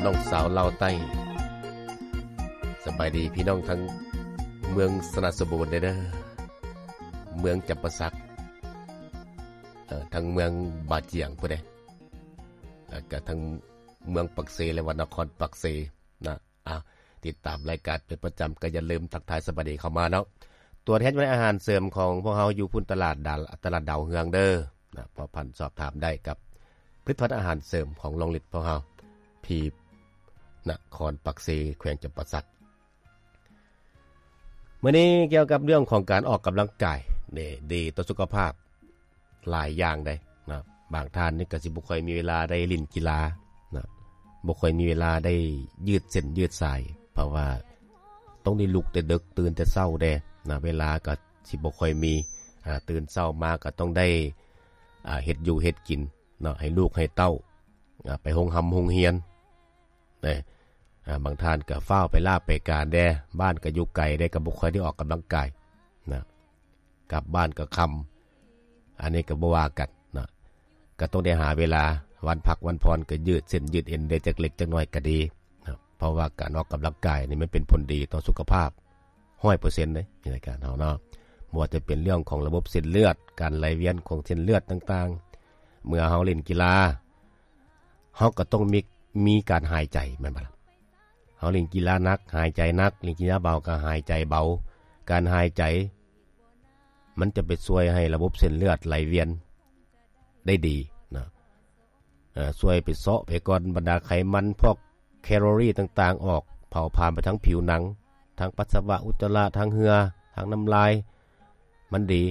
ນ້ອງສາວລາວໃຕ້ ສະບາຍດີພີ່ນ້ອງທັງເມືອງຊະນະສົມບູນເດີ ເມືອງຈຳປາສັກ ເອີ ທັງເມືອງບາຈຽງພຸ້ນເດ້ ແລ້ວກະທັງເມືອງປາກເຊ ແລະວ່ານະຄອນປາກເຊນະ. ອ່າ ຕິດຕາມລາຍການເປັນປະຈຳ ກໍຢ່າລືມທັກທາຍສະບາຍດີເຂົ້າມາເນາະ. ຕົວແທນຈຳໜ່າຍອາຫານເສີມຂອງພວກເຮົາຢູ່ພຸ້ນ ຕະຫຼາດດາ ຕະຫຼາດດາວເຮືອງເດີນະ ພົວພັນສອບຖາມໄດ້ກັບຜະລິດຕະພັນອາຫານເສີມຂອງລອງລິດພວກເຮົາ ທີ່ນະຄອນປາກເຊ ແຂວງຈຳປາສັກ. ມື້ນີ້ກ່ຽວກັບເລື່ອງຂອງການອອກກຳລັງກາຍ ເດ້ ດີຕໍ່ສຸຂະພາບ ຫຼາຍຢ່າງໃດ໋ນະ. ບາງທ່ານນີ້ກໍຊິບໍ່ຄ່ອຍມີເວລາໄດ້ຫຼິ້ນກິລານະ ບໍ່ຄ່ອຍມີເວລາໄດ້ຍືດເສັ້ນຍືດສາຍ ເພາະວ່າຕ້ອງໄດ້ລຸກແຕ່ເດິກ ຕື່ນແຕ່ເຊົ້າແດ່ນະ ເວລາກໍຊິບໍ່ຄ່ອຍມີ ອ່າ ຕື່ນເຊົ້າມາກໍຕ້ອງໄດ້ ອ່າ ເຮັດຢູ່ເຮັດກິນເນາະ ໃຫ້ລູກໃຫ້ເຕົ້າ ອ່າ ໄປໂຮງຮ່ຳໂຮງຮຽນເດ້. ອ່າ ບາງທ່ານກໍຟ້າວໄປລາໄປການແດ່ ບ້ານກໍຢູ່ໄກເດ້ ກໍບໍ່ຄ່ອຍໄດ້ອອກກຳລັງກາຍນະ. ກັບບ້ານກໍຄ່ຳ ອັນນີ້ກໍບໍ່ວ່າກັນເນາະ ກໍຕ້ອງໄດ້ຫາເວລາ ວັນພັກວັນຜ່ອນກໍຍືດເສັ້ນຍືດເອັນໄດ້ຈັກເລັກຈັກນ້ອຍກໍດີເນາະ ເພາະວ່າການອອກກຳລັງກາຍນີ້ມັນເປັນຜົນດີຕໍ່ສຸຂະພາບຮ້ອຍເປີເຊັນເດ້ ໃນການເຮົາເນາະ ບໍ່ວ່າຈະເປັນເລື່ອງຂອງລະບົບເສັ້ນເລືອດ ການໄຫຼວຽນຂອງເສັ້ນເລືອດຕ່າງໆ. ເມື່ອເຮົາຫຼິ້ນກິລາ ເຮົາກໍຕ້ອງມີ ມີການຫາຍໃຈ ແມ່ນບໍ່ລະ? ເຮົາຫຼິ້ນກິລາໜັກ ຫາຍໃຈໜັກ, ຫຼິ້ນກິລາເບົາກໍຫາຍໃຈເບົາ. ການຫາຍໃຈມັນຈະໄປຊ່ວຍໃຫ້ລະບົບເສັ້ນເລືອດໄຫຼວຽນໄດ້ດີນະ. ເອີ ຊ່ວຍໄປເຊາະໄປກ່ອນບັນດາໄຂມັນ ພວກແຄໂລຣີຕ່າງໆອອກ, ເຜົາຜານໄປທາງຜິວໜັງ, ທາງປັດສະວະ, ອຸດຈະລະ, ທາງເຫື່ອ, ທາງນ້ຳລາຍ, ມັນດີ.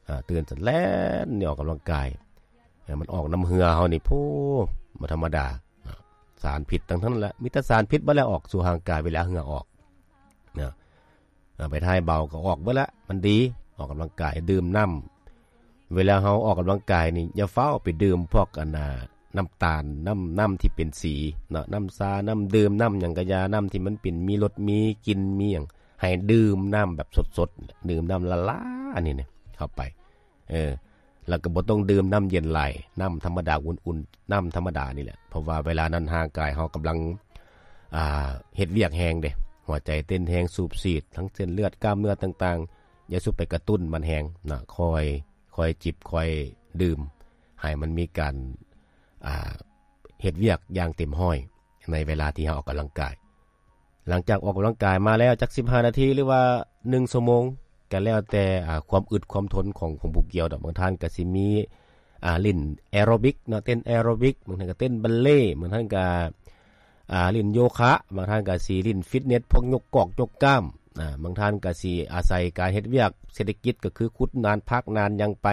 ອ່າ ຕື່ນຊັ້ນແລ່ນນີ້ອອກກຳລັງກາຍ ໃຫ້ມັນອອກນ້ຳເຫື່ອເຮົານີ້ ໂອ້ ບໍ່ທຳມະດາເນາະ. ສານພິດທັງນັ້ນແຫຼະ ມີແຕ່ສານພິດເບິດແຫຼະ ອອກສູ່ຮ່າງກາຍເວລາເຫື່ອອອກເນາະ. ອ່າ ໄປຖ່າຍເບົາກໍອອກເບິດລະ ມັນດີ ອອກກຳລັງກາຍ ດື່ມນ້ຳ. ເວລາເຮົາອອກກຳລັງກາຍນີ້ ຢ່າຟ້າວໄປດື່ມພວກ ອັນນ່າ ນ້ຳຕານ ນ້ຳ ນ້ຳທີ່ເປັນສີເນາະ ນ້ຳຊາ ນ້ຳດື່ມ ນ້ຳຫຍັງກະຢ່າ ນ້ຳທີ່ມັນເປັນ ມີລົດ ມີກິ່ນ ມີຫຍັງ ໃຫ້ດື່ມນ້ຳແບບສົດໆ ດື່ມນ້ຳລ້າໆ ອັນນີ້ນະ ເຂົ້າໄປ ເອີ ແລ້ວກໍບໍ່ຕ້ອງດື່ມນ້ຳເຢັນຫຼາຍ ນ້ຳທຳມະດາອຸ່ນໆ ນ້ຳທຳມະດານີ້ແຫຼະ ເພາະວ່າເວລານັ້ນຮ່າງກາຍເຮົາກຳລັງ ອ່າ ເຮັດວຽກແຮງເດ້ ຫົວໃຈເຕັ້ນແຮງ ສູບສີດ ທັງເສັ້ນເລືອດ ກ້າມເນື້ອຕ່າງໆ ຢ່າສູ່ໄປກະຕຸ້ນມັນແຮງນະ ຄ່ອຍ ຄ່ອຍຈິບ ຄ່ອຍດື່ມ ໃຫ້ມັນມີການ ອ່າ ເຮັດວຽກຢ່າງເຕັມຮ້ອຍ ໃນເວລາທີ່ເຮົາອອກກຳລັງກາຍ. ຫຼັງຈາກອອກກຳລັງກາຍມາແລ້ວຈັກສິບຫ້ານາທີ ຫຼືວ່າໜຶ່ງຊົ່ວໂມງ ກໍແລ້ວແຕ່ ອ່າ ຄວາມອຶດຄວາມທົນຂອງ ຂອງຜູ້ກ່ຽວດອກ. ບາງທ່ານກໍຊິມີ ອ່າ ຫຼິ້ນແອໂຣບິກເນາະ ເຕັ້ນແອໂຣບິກ, ບາງທ່ານກໍເຕັ້ນບັນເລ, ບາງທ່ານກໍ ອ່າ ຫຼິ້ນໂຍຄະ, ບາງທ່ານກໍຊິຫຼິ້ນຟິດເນັດ ພວກຍົກກອກຍົກກ້າມ, ອ່າ ບາງທ່ານກໍຊິອາໄສການເຮັດວຽກເສດຖະກິດ ກໍຄືຂຸດນານ ພາກນານຫຍັງໄປ,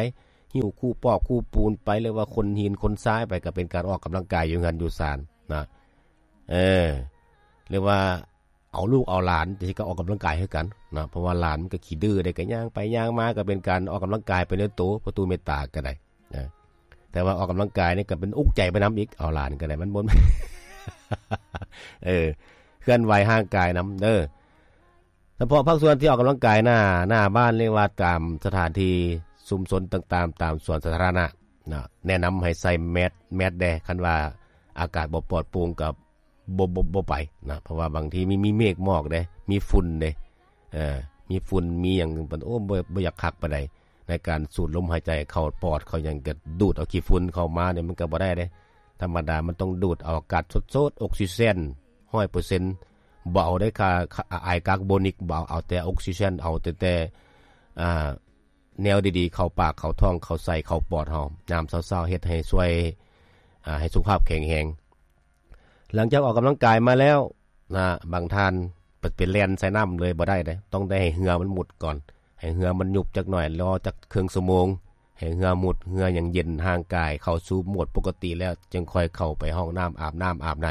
ຫິ້ວຄູ່ປອກຄູ່ປູນໄປ ຫຼືວ່າຂົນຫີນຂົນຊາຍໄປ ກໍເປັນການອອກກຳລັງກາຍຢູ່ເຮືອນຢູ່ຊານນະ. ເອີ ຫຼືວ່າເອົາລູກເອົາຫຼານຈັ່ງຊີ້ກໍອອກກຳລັງກາຍຄືກັນນະ ເພາະວ່າຫຼານມັນກໍຂີ້ດື້ເດ້ ກໍຍ່າງໄປຍ່າງມາ ກໍເປັນການອອກກຳລັງກາຍໄປໃນໂຕ ປະຕູເມດຕາກໍໄດ້ນະ. ແຕ່ວ່າອອກກຳລັງກາຍນີ້ກໍເປັນອຸກໃຈໄປນຳອີກ ເອົາຫຼານກໍໄດ້ ມັນບໍ່ ເອີ ເຄື່ອນໄຫວຮ່າງກາຍນຳເດີ. ສະເພາະພາກສ່ວນທີ່ອອກກຳລັງກາຍໜ້າ ໜ້າບ້ານ ຫຼືວ່າຕາມສະຖານທີ່ຊຸມຊົນຕ່າງໆ ຕາມສວນສາທາລະນະນະ ແນະນຳໃຫ້ໃສ່ແມສ ແມສແດ່ ຄັນວ່າອາກາດບໍ່ປອດໂປ່ງກໍ ບໍ່ ບໍ່ ບໍ່ໄປນະ ເພາະວ່າບາງທີມີ ມີເມກໝອກເດ້ ມີຝຸ່ນເດ້ ເອີ ມີຝຸ່ນມີຫຍັງ ໂອ້ ບໍ່ ບໍ່ຢາກຄັກປານໃດ ໃນການສູດລົມຫາຍໃຈເຂົ້າປອດເຂົ້າຫຍັງ ກໍດູດເອົາຂີ້ຝຸ່ນເຂົ້າມານີ້ ມັນກໍບໍ່ໄດ້ເດ້. ທຳມະດາມັນຕ້ອງດູດເອົາອາກາດສົດໆ ອົກຊີເຈນຮ້ອຍເປີເຊັນ ບໍ່ເອົາໄດ້ຄ່າ ອາຍກາກໂບນິກ ບໍ່ເອົາ ເອົາແຕ່ອົກຊີເຈນ ເອົາແຕ່ ແຕ່ ອ່າ ແນວດີໆ ເຂົ້າປາກເຂົ້າທ້ອງ ເຂົ້າໄສ້ເຂົ້າປອດເຮົາ ຍາມເຊົ້າໆ ເຮັດໃຫ້ຊ່ວຍ ອ່າ ໃຫ້ສຸຂະພາບແຂງແຮງ. ຫຼັງຈາກອອກກຳລັງກາຍມາແລ້ວນະ ບາງທ່ານໄປ ໄປແລ່ນໃສ່ນ້ຳເລີຍບໍ່ໄດ້ເດ້ ຕ້ອງໄດ້ໃຫ້ເຫື່ອມັນໝຸດກ່ອນ ໃຫ້ເຫື່ອມັນຍຸບຈັກໜ້ອຍ ລໍຈັກເຄິ່ງຊົ່ວໂມງ ໃຫ້ເຫື່ອໝຸດ ເຫື່ອຫຍັງເຢັນ ຮ່າງກາຍເຂົ້າສູ່ໂໝດປົກກະຕິແລ້ວ ຈຶ່ງຄ່ອຍເຂົ້າໄປຫ້ອງນ້ຳ ອາບນ້ຳອາບໃນ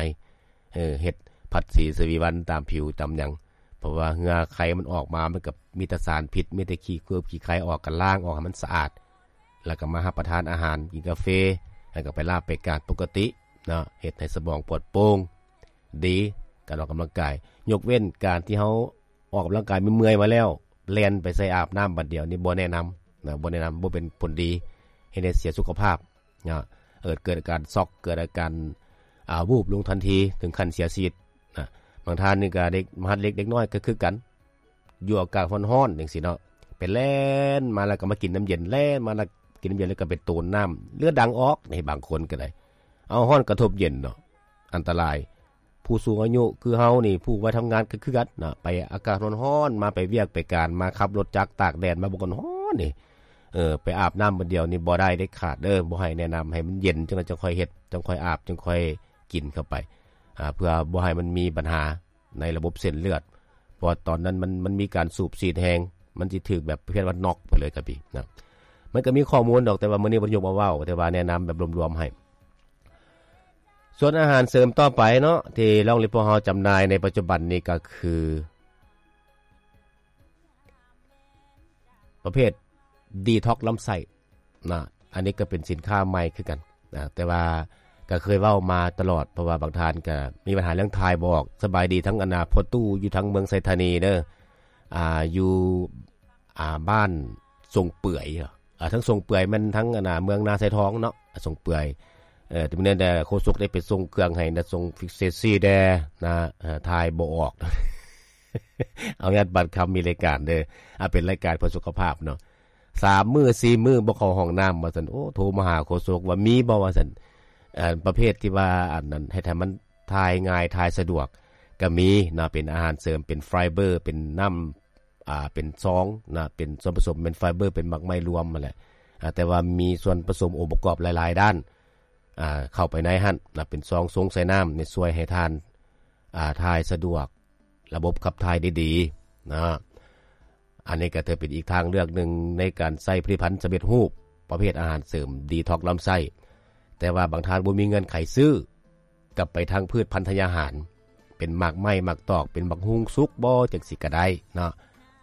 ເອີ ເຮັດຜັດສີສະວີວັນຕາມຜິວຕາມຫຍັງ ເພາະວ່າເຫື່ອໄຄມັນອອກມາ ມັນກໍມີແຕ່ສານພິດ ມີແຕ່ຂີ້ເຄືອບຂີ້ໄຄອອກ ກໍລ້າງອອກໃຫ້ມັນສະອາດ ແລ້ວກໍມາຮັບປະທານອາຫານ ກິນກາເຟ ແລ້ວກໍໄປລາໄປການປົກກະຕິເນາະ ເຮັດໃຫ້ສະໝອງປອດໂປ່ງ ດີ ການອອກກຳລັງກາຍ ຍົກເວັ້ນການທີ່ເຮົາອອກກຳລັງກາຍເມື່ອຍໆມາແລ້ວ ແລ່ນໄປໃສ່ອາບນ້ຳບາດດຽວນີ້ ບໍ່ແນະນຳນະ ບໍ່ແນະນຳ ບໍ່ເປັນຜົນດີ ເຮັດໃຫ້ເສຍສຸຂະພາບນະ ເອີ ເກີດອາການຊັອກ ເກີດອາການ ອ່າ ວູບລົງທັນທີ ເຖິງຂັ້ນເສຍຊີວິດນະ. ບາງທ່ານນີ້ກໍເດັກມະຫັດເລັກເດັກນ້ອຍກໍຄືກັນ ຢູ່ອາກາດຮ້ອນໆ ຈັ່ງຊີ້ເນາະ ໄປແລ່ນມາແລ້ວກໍມາກິນນ້ຳເຢັນ ແລ່ນມາແລ້ວກິນນ້ຳເຢັນ ແລ້ວກໍໄປໂຕນນ້ຳ ເລືອດດັງອອກໃນບາງຄົນກໍໄດ້. ເອົາ ຮ້ອນກະທົບເຢັນເນາະ ອັນຕະລາຍ. ຜູ້ສູງອາຍຸຄືເຮົານີ້ ຜູ້ໄວທຳງານກໍຄືກັນນະ ໄປອາກາດຮ້ອນໆ ມາໄປວຽກໄປການ ມາຂັບລົດຈັກຕາກແດດມາ ບໍ່ກໍຮ້ອນນີ້ ເອີ ໄປອາບນ້ຳບາດດຽວນີ້ບໍ່ໄດ້ເດັດຂາດເດີ. ບໍ່ໃຫ້ແນະນຳ ໃຫ້ມັນເຢັນ ຈັ່ງນັ້ນຈັ່ງຄ່ອຍເຮັດ ຈັ່ງຄ່ອຍອາບ ຈັ່ງຄ່ອຍກິນເຂົ້າໄປ ອ່າ ເພື່ອບໍ່ໃຫ້ມັນມີບັນຫາໃນລະບົບເສັ້ນເລືອດ ເພາະວ່າຕອນນັ້ນມັນ ມັນມີການສູບສີດແຮງ ມັນຊິຖືກແບບປະເພດວ່ານັອກໄປເລີຍຄັບພີ່ນະ. ມັນກໍມີຂໍ້ມູນດອກ ແຕ່ວ່າມື້ນີ້ບໍ່ໄດ້ຍົກມາເວົ້າ ແຕ່ວ່າແນະນຳແບບລວມໆໃຫ້. ສ່ວນອາຫານເສີມຕໍ່ໄປເນາະ ທີ່ລອງລິດພວກເຮົາຈຳໜ່າຍໃນປັດຈຸບັນນີ້ກໍຄື ປະເພດດີທັອກລຳໄສ້ນະ. ອັນນີ້ກໍເປັນສິນຄ້າໃໝ່ຄືກັນນະ ແຕ່ວ່າກໍເຄີຍເວົ້າມາຕະຫຼອດ ເພາະວ່າບາງທ່ານກໍມີບັນຫາເລື່ອງຖ່າຍບໍ່ອອກ. ສະບາຍດີທັງອັນນາພໍ່ຕູ້ຢູ່ທາງເມືອງໄຊທານີເດີ ອ່າ ຢູ່ ອ່າ ບ້ານຊົງເປືອຍ ອ່າ ທາງຊົງເປືອຍແມ່ນທາງອັນນາເມືອງນາຊາຍທອງເນາະ ຊົງເປືອຍ. ເອີ ແຕ່ມື້ນັ້ນແດ່ໂຄສົກໄດ້ໄປສົ່ງເຄື່ອງໃຫ້ນະ ສົ່ງຟິກເຊຊີແດ່ນະ ເອີ ຖ່າຍບໍ່ອອກ ອະນຸຍາດບັດຄຳມີລາຍການເດີ ອ່າ ເປັນລາຍການເພື່ອສຸຂະພາບເນາະ. ສາມມື້ສີ່ມື້ບໍ່ເຂົ້າຫ້ອງນ້ຳວ່າຊັ້ນ. ໂອ້ ໂທມາຫາໂຄສົກວ່າມີບໍ່ວ່າຊັ້ນ ເອີ ປະເພດທີ່ວ່າອັນນັ້ນ ເຮັດໃຫ້ມັນຖ່າຍງ່າຍ ຖ່າຍສະດວກກໍມີເນາະ ເປັນອາຫານເສີມ ເປັນໄຟເບີ ເປັນນ້ຳ ອ່າ ເປັນຊອງນະ ເປັນສ່ວນປະສົມ ເປັນໄຟເບີ ເປັນໝາກໄມ້ລວມຫັ້ນແຫຼະ ອ່າ ແຕ່ວ່າມີສ່ວນປະສົມອົງປະກອບຫຼາຍໆດ້ານ ອ່າ ເຂົ້າໄປໃນຫັ້ນນະ ເປັນຊອງຊົງໃສ່ນ້ຳນີ້ ຊ່ວຍໃຫ້ທ່ານ ອ່າ ຖ່າຍສະດວກ ລະບົບຂັບຖ່າຍໄດ້ດີນະ. ອັນນີ້ກໍຖືເປັນອີກທາງເລືອກໜຶ່ງໃນການໃຊ້ຜະລິດຕະພັນສຳເລັດຮູບ ປະເພດອາຫານເສີມດີທັອກລຳໄສ້. ແຕ່ວ່າບາງທ່ານບໍ່ມີເງື່ອນໄຂຊື້ ກັບໄປທາງພືດພັນທະຍາຫານ ເປັນໝາກໄມ້ໝາກຕອກ ເປັນໝາກຫຸ່ງສຸກບໍ່ ຈັ່ງຊີ້ກໍໄດ້ເນາະ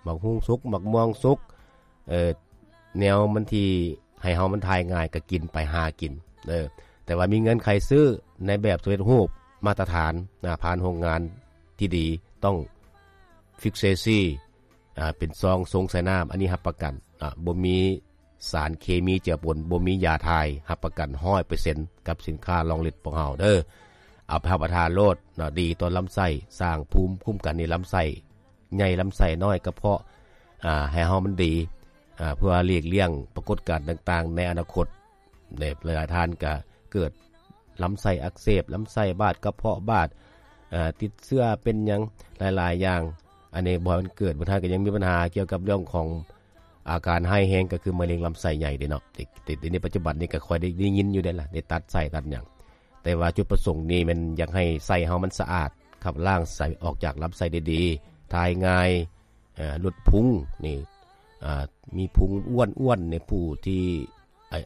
ໝາກຫຸ່ງສຸກ ໝາກມ່ວງສຸກ ເອີ ແນວມັນທີ່ໃຫ້ເຮົາມັນຖ່າຍງ່າຍກໍກິນໄປ ຫາກິນເດີ. ແຕ່ວ່າມີເງື່ອນໄຂຊື້ໃນແບບສຳເລັດຮູບມາດຕະຖານນະ ຜ່ານໂຮງງານທີ່ດີ ຕ້ອງຟິກເຊຊີ ອ່າ ເປັນຊອງຊົງໃສ່ນ້ຳ ອັນນີ້ຮັບປະກັນ ອ່າ ບໍ່ມີສານເຄມີເຈືອປົນ ບໍ່ມີຢາຖ່າຍ ຮັບປະກັນຮ້ອຍເປີເຊັນ ກັບສິນຄ້າລອງລິດພວກເຮົາເດີ. ເອົາໄປຮັບປະທານໂລດເນາະ ດີຕໍ່ລຳໄສ້ ສ້າງພູມຄຸ້ມກັນໃນລຳໄສ້ ໃຫຍ່ລຳໄສ້ ນ້ອຍກະເພາະ ອ່າ ໃຫ້ເຮົາມັນດີ ອ່າ ເພື່ອຫຼີກລ່ຽງປາກົດການຕ່າງໆໃນອະນາຄົດ. ຫຼາຍໆທ່ານກະເກີດ ລຳໄສ້ອັກເສບ ລຳໄສ້ບາດ ກະເພາະບາດ ເອີ ຕິດເຊື້ອ ເປັນຫຍັງຫຼາຍໆຢ່າງ. ອັນນີ້ບໍ່ໃຫ້ມັນເກີດ ບາງທ່ານກໍຍັງມີບັນຫາກ່ຽວກັບເລື່ອງຂອງອາການຮ້າຍແຮງ ກໍຄືມະເຮັງລຳໄສ້ໃຫຍ່ເດ້ເນາະ. ແຕ່ ແຕ່ໃນປັດຈຸບັນນີ້ກໍຄ່ອຍໄດ້ ໄດ້ຍິນຢູ່ເດ້ລະ ໄດ້ຕັດໄສ້ຕັດຫຍັງ. ແຕ່ວ່າຈຸດປະສົງນີ້ແມ່ນຢາກໃຫ້ໄສ້ເຮົາມັນສະອາດ ຂັບລ້າງໄສ້ອອກຈາກລຳໄສ້ໄດ້ດີ ຖ່າຍງ່າຍ ເອີ ຫຼຸດພຸງນີ້ ອ່າ ມີພຸງອ້ວນໆ ໃນຜູ້ທີ່